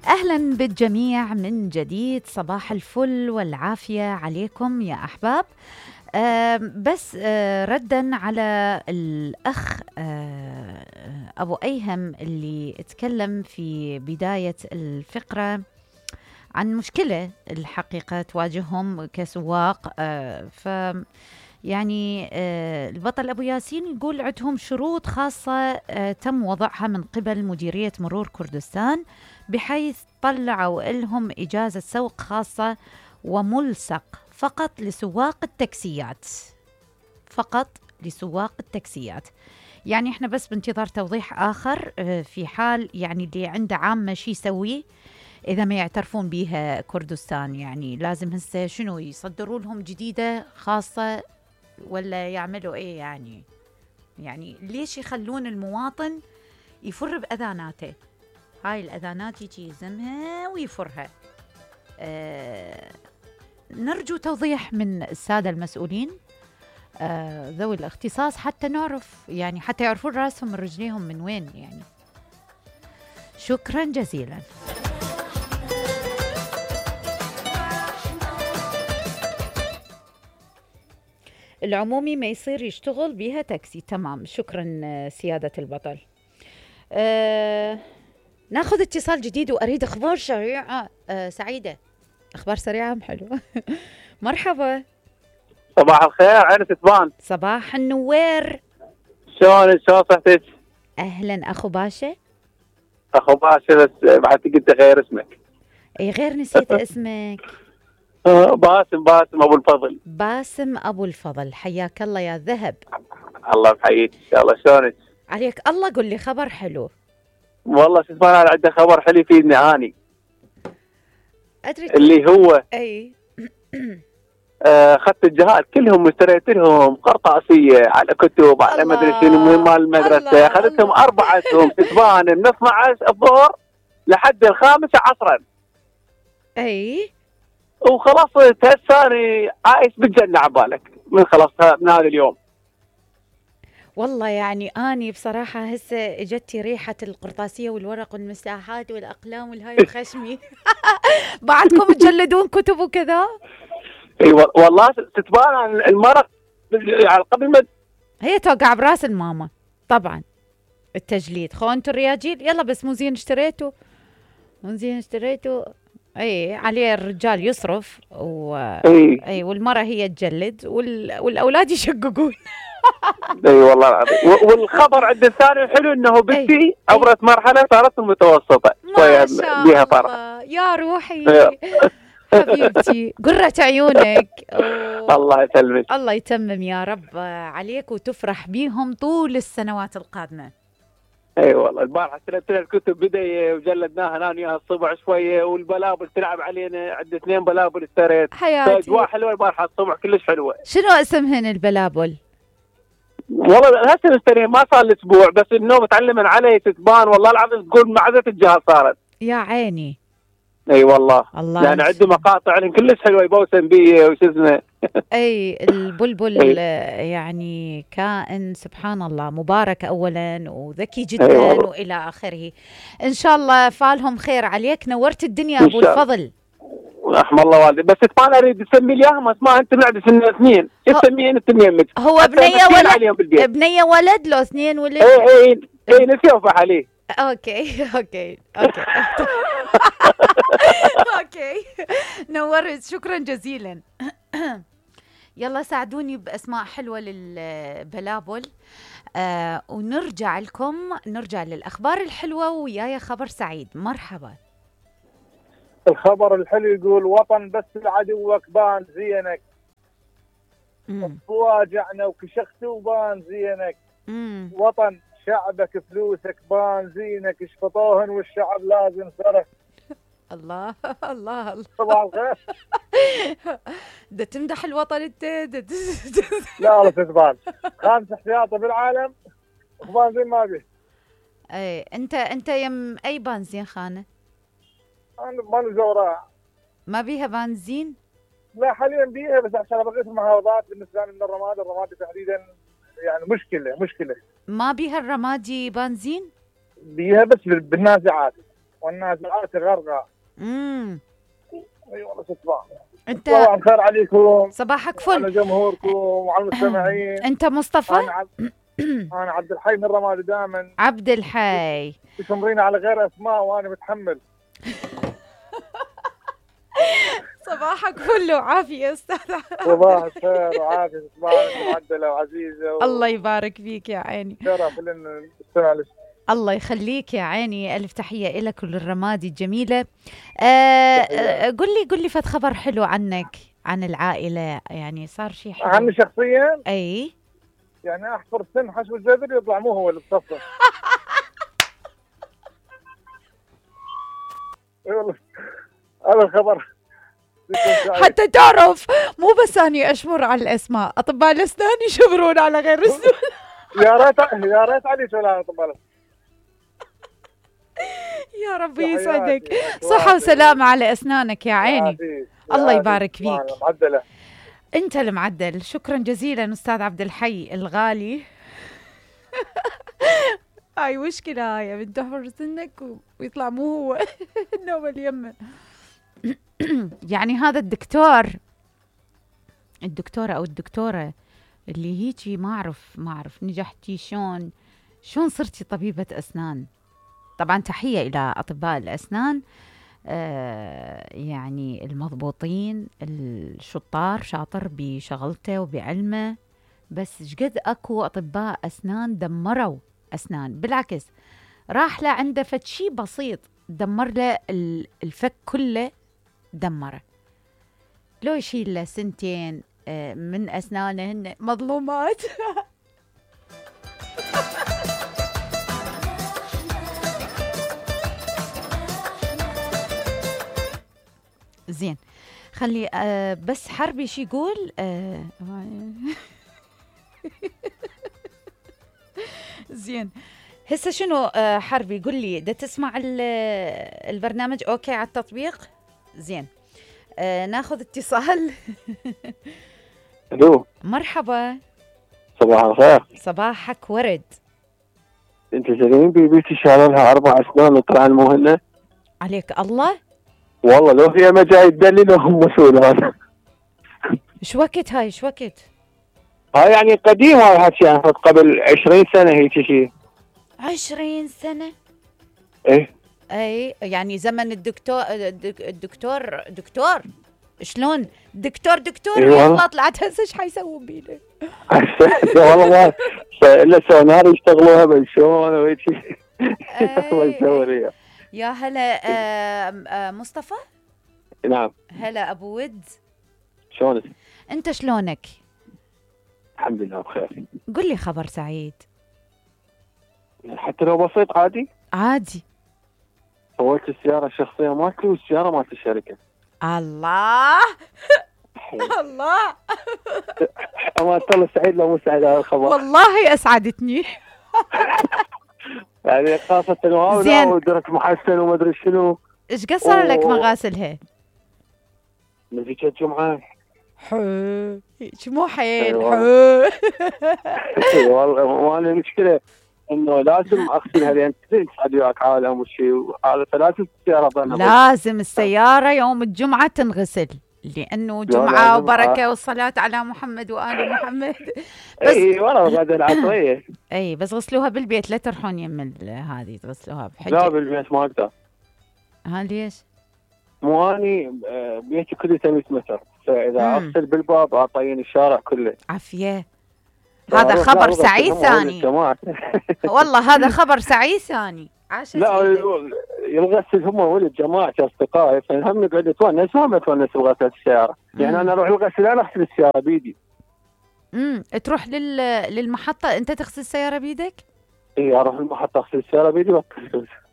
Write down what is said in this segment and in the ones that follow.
أهلا بالجميع من جديد، صباح الفل والعافية عليكم يا أحباب. بس ردا على الأخ أبو أيهم اللي اتكلم في بداية الفقرة عن مشكلة الحقيقة تواجههم كسواق. يعني البطل أبو ياسين يقول عندهم شروط خاصة تم وضعها من قبل مديرية مرور كردستان، بحيث طلعوا لهم إجازة سوق خاصة وملصق فقط لسواق التاكسيات، فقط لسواق التاكسيات. يعني احنا بس بانتظار توضيح آخر في حال يعني اللي عنده عامة شي يسوي إذا ما يعترفون بيها كردستان. يعني لازم هسه شنو يصدروا لهم جديدة خاصة ولا يعملوا إيه؟ يعني ليش يخلون المواطن يفر بأذاناته؟ هاي الأذانات يجي يزمها ويفرها. نرجو توضيح من السادة المسؤولين ذوي الاختصاص حتى نعرف، يعني حتى يعرفون راسهم من رجليهم من وين. يعني شكرا جزيلا. العمومي ما يصير يشتغل بيها تاكسي. تمام، شكرا سيادة البطل. ناخذ اتصال جديد وأريد أخبار سريعة. سعيدة، أخبار سريعة حلوة. مرحبا. صباح الخير، عين تتبان. صباح النوير. شلون صحتك؟ أهلا أخو باشا. أخو باشا، بس بعد قلت غير اسمك. أي غير نسيت اسمك. باسم أبو الفضل. باسم أبو الفضل، حياك الله يا ذهب. الله بحييك إن شاء الله. شلونك؟ عليك الله. قل لي خبر حلو. والله شو اسمه، أنا عنده خبر حلو يفيدني أني. أدري اللي هو أي أخذت الجهات كلهم واشتريت لهم قرطاسية على كتب على ما أدري شنو مهم مال المدرسة. أخذتهم 4 أسهم تتبان من 12 الظهر لحد 5 عصرا. أي وخلاص تهساني عايش بالجنة عبالك من خلصتها من هذا اليوم. والله يعني أني بصراحة هسه اجتي ريحة القرطاسية والورق والمساحات والأقلام والهاي الخشمي. بعدكم تجلدون كتب وكذا؟ اي والله تتبان المرق يعني قبل ما هي توقع براس الماما طبعا التجليد. خو انتوا الرياجيل يلا بس مو زين اشتريتوا، مو زين اشتريتوا. اي عليه الرجال يصرف اي والمرأة هي تجلد والاولاد يشققون. اي والله العظيم. والخبر عند الثاني الحلو انه بنتي عبرت مرحلة صارت المتوسطة شوية بها فرح. يا روحي حبيبتي، قرة عيونك. الله يسلمك. الله يتمم يا رب عليك وتفرح بيهم طول السنوات القادمة. اي والله البارحة اشتريت لها الكتب بداية وجلدناها انا وياها الصبح شوية، والبلابل تلعب علينا، عندي 2 بلابل اشتريت. حياتي اجواء حلوة البارحة الصبح كلش حلوة. شنو اسمهن البلابل؟ والله هسه نشتري ما صار لي اسبوع، بس النوم تعلمن علي تتبان والله العظيم تقول معزة الجهاز صارت. يا عيني. اي والله يعني عنده مقاطع لهم كلش حلوه يبوسن بيه وش اسمه. اي البلبل يعني كائن سبحان الله مبارك اولا وذكي جدا والى اخره. ان شاء الله فالهم خير عليك. نورت الدنيا ابو الفضل. رحم الله والدي. بس ما اريد اسمي لي اياهم اسماء انت بعد سن سنين تسميين انت يمك. هو بنيه ولد؟ بنيه ولد لو 2 ولد؟ اي نسيوفح عليه. اوكي اوكي نورت، شكرا جزيلا. يلا ساعدوني باسماء حلوه للبلابل. ونرجع لكم، نرجع للاخبار الحلوه وياي خبر سعيد. مرحبا. الخبر الحلو يقول وطن بس لعدوك بان زينك. واجعنا وكشخت وبان زينك. وطن شعبك فلوسك بان زينك، اشفطوهن والشعب لازم صرف. الله الله الله. صباح الخير. ده تمدح الوطن انت؟ لا تتبان 5 احتياطي بالعالم وبنزين ما بيه. اي انت يم اي بنزين خانه؟ انا بنزوره ما بيها بنزين؟ لا حاليا بيها، بس عشان بقيت المحافظات بالنسبه لي من الرمادي تحديدا يعني مشكله. ما بيها الرمادي بنزين؟ بيها بس بالنازعات. والنازعات غرقا. اي والله ستبان. انت صباح الخير عليكم. صباحك فل. على جمهوركم وعلى المستمعين. انت مصطفى؟ انا عبد الحي من رمادي دائما. عبد الحي تشمرينا على غير اسماء وانا متحمل. صباحك فل وعافيه استاذ. صباح الخير وعافيه. صباحك معدله وعزيزه الله يبارك فيك يا عيني. شرف لنا نستمع لك. الله يخليك يا عيني. ألف تحية لك وللرمادي الجميلة. قل لي فد خبر حلو عنك، عن العائلة، يعني صار شيء حلو عني شخصيا؟ أي يعني أحفر سن حشو الجذر يطلع مو هو اللي بصفه. والله هذا الخبر حتى تعرف مو بس أني أشمر على الأسماء، أطباء الأسنان يشمرون على غير اسم. يا ريت علي شغلانة أطباء الأسنان. يا ربي يسعدك. صحة وسلامة على أسنانك يا عيني. الله يبارك فيك. معدلة. أنت المعدل. شكرا جزيلا أستاذ عبد الحي الغالي. هاي مشكلة، هاي بنت تحفر سنك ويطلع مو هو النوبة اليمن. يعني هذا الدكتورة أو الدكتورة اللي هيجي ما أعرف نجحتي شلون صرتي طبيبة أسنان. طبعا تحية إلى أطباء الأسنان، يعني المضبوطين الشطار، شاطر بشغلته وبعلمه، بس شقد أكو أطباء أسنان دمروا أسنان. بالعكس راح له عنده فد شي بسيط دمر له الفك كله، دمره. لو يشيل له سنتين من أسنانه هن مظلومات. زين خلي بس حربي شي يقول. زين هسه شنو حربي قل لي، دا تسمع البرنامج اوكي على التطبيق؟ زين ناخذ اتصال. الو مرحبا. صباح الخير. صباحك ورد. انت زين بيبيتي شال لها 4 أسنان وطلع المهنة عليك الله. والله لو فيها مجال تدلل هم مسؤول هذا. ايش وقت هاي ايش وقت؟ هاي يعني قديم هاي الحكي، يعني قبل 20 سنة هيك شيء. 20 سنة؟ ايه يعني زمن الدكتور شلون دكتور يلا طلعت هسه ايش حيسوون بينا؟ والله ما الا سونار يشتغلوها بالشون وهيك شيء. الله يسوي يا هلا. مصطفى؟ نعم. هلا ابو ود، شلونك؟ انت شلونك؟ الحمد لله بخير. قل لي خبر سعيد. حتى لو بسيط عادي. فولت السيارة الشخصية مالتي والسيارة مالت الشركة. الله الله. أما الله سعيد لو مو سعيد هذا الخبر. والله أسعدتني. يعني خاصة وهاولا ودرك محسن وما أدري شنو. إيش قصر لك مغاسلها؟ من ذيك الجمعة. مو حيل والله ما لي مشكلة إنه لازم أغسلها لأن تصعد وياك عالم وشيء، هذا فلازم السيارة لازم السيارة يوم الجمعة تنغسل، لأنه جمعة وبركة والصلاة على محمد وآل محمد. بس اي والله بعد العصرية. اي بس غسلوها بالبيت، لا تروحون يم هذه تغسلوها بحجة. لا بالبيت ما اقدر. ها ليش؟ مو اني بيتي كله 100 متر، فاذا اغسل بالباب اعطين الشارع كله. عافية. هذا خبر سعيد ثاني. والله هذا خبر سعيد ثاني. لا يغسل هم ولد جماعة أصدقائي، فهم نقعد نتونس وهم يتونس بغسالة السيارة. يعني أنا أروح الغسيل أنا أغسل السيارة بيدي. تروح للمحطة أنت تغسل السيارة بيدك؟ إيه أروح المحطة أغسل السيارة بيدي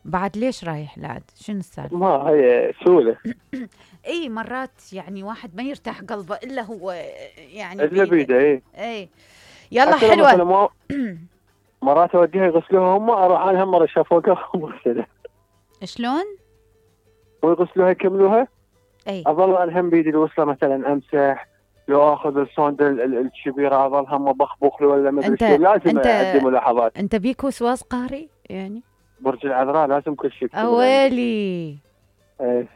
بعد ليش رايح لعد؟ شنو السالفة؟ ما هي سهولة. إيه مرات يعني واحد ما يرتاح قلبه إلا هو يعني إلا بيده. إيه يلا حلوة. مرات اوديها يغسلوها هم، اروح انا هم مره شافوها وغسلها. شلون؟ ويغسلوها يكملوها. اي اظل انا هم بيدي الوصله مثلا امسح، لو اخذ الصوند الكبيره اظل هم بخبخ له ولا ما ادري شو، لازم ادي ملاحظات. انت بيك وسواس قهري يعني؟ برج العذراء لازم كل شيء يكتمل. اويلي. ايه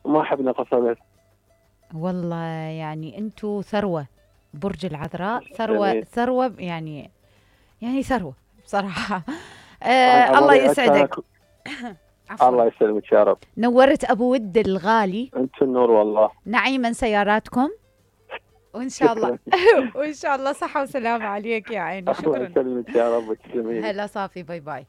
ما احب نقص. والله يعني انتو ثروة، برج العذراء ثروة ثروة يعني ثروة بصراحة. الله يسعدك. الله يسلمك يا رب. نورت ابو ود الغالي. انت النور والله. نعيما سياراتكم وان شاء الله وان شاء الله صحة وسلامة عليك يا عيني. شكرا. الله يسلمك يا رب وتسلمين. هلا صافي، باي باي.